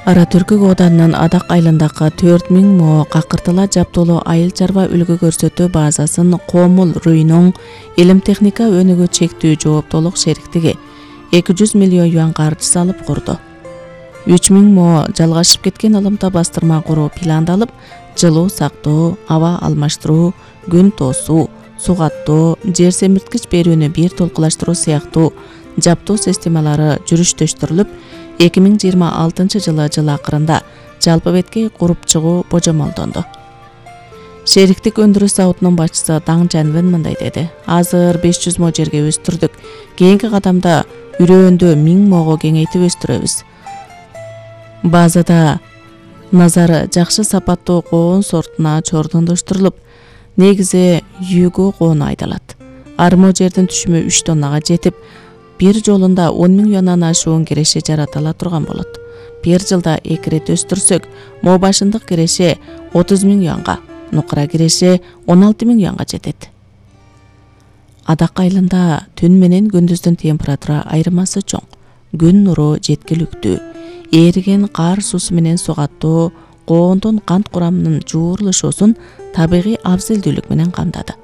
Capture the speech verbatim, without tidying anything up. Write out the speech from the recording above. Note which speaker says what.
Speaker 1: Ара Түркүк Оданынын Адак айылындагы төрт миң мо какыртыла жабдуулуу айыл чарба үлгү көрсөтүү базасын Комул Руйнуң илим техника өнүгүү чектүү жооптуулук шериктиги эки жүз миллион юан каржы салып курду. үч миң мо жалгашып кеткен ылымта бастырма куруу пландалып, жылуу сактоо, аба алмаштыруу, күн тоосуу, сугаттоо, жер семирткич берүүнү бир толкулаштыруу сыяктуу жабдуу системалары жүрүштөштүрүлүп, эки миң жыйырма алтынчы жылы жыл акырында жалпы бетке куруп чыгуу божомолдонду. Шериктик өндүрүш заводунун башчысы Даң Жанвен мындай деди: Азыр беш жүз мо жерге өстүрдүк. Кийинки кадамда үрөөндө миң мого кеңейтип өстүрөбүз. Базада назары жакшы сапаттуу коон сортуна чордондоштурулуп, негизи Юго коону айдалат. Армо жердин түшүмү үч тоннага жетип, бир жолунда он миң юандан ашуун киреше жаратыла турган болот. Бир жылда эки рет өстүрсөк, мо башындык киреше отуз миң юанга, нукура киреше он алты миң юанга жетет. Адак айылында түн менен күндүздүн температура айырмасы чоң. Күн нуру жеткиликтүү. Эриген кар суусу менен сугаттоо коондун кант курамынын жуурулушуусун табигый абзелдүүлүк менен камдады.